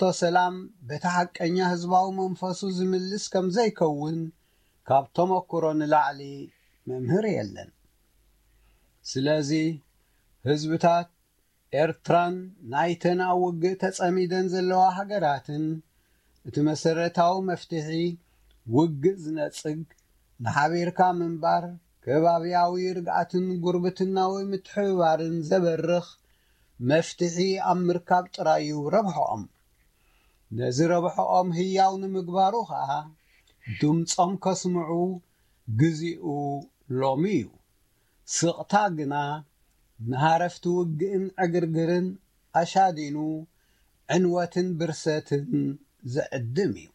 ሕቶ ሰላም በቲ ሓቀኛ ህዝባዊ መንፈሱ ዝምልስ ከም ዘይከውን ካብ ተመክሮ ንላዕሊ መምህር የለን። ስለዚ ህዝብታት ኤርትራን ናይተን ኣብ ውግእ ተጸሚደን ዘለዋ ሃገራትን እቲ መሰረታዊ መፍትሒ ውግእ ዝነጽግ፣ ንሓቢርካ ምንባር፣ ከባብያዊ ርግኣትን ጉርብትናዊ ምትሕብባርን ዘበርኽ መፍትሒ ኣብ ምርካብ ጥራይ እዩ ረብሖኦም። ነዚ ረብሖኦም ህያው ንምግባሩ ኸኣ ድምጾም ከስምዑ ግዜኡ ሎሚ እዩ። ስቕታ ግና ንሃረፍቲ ውግእን ዕግርግርን ኣሻዲኑ ዕንወትን ብርሰትን ዘዕድም እዩ።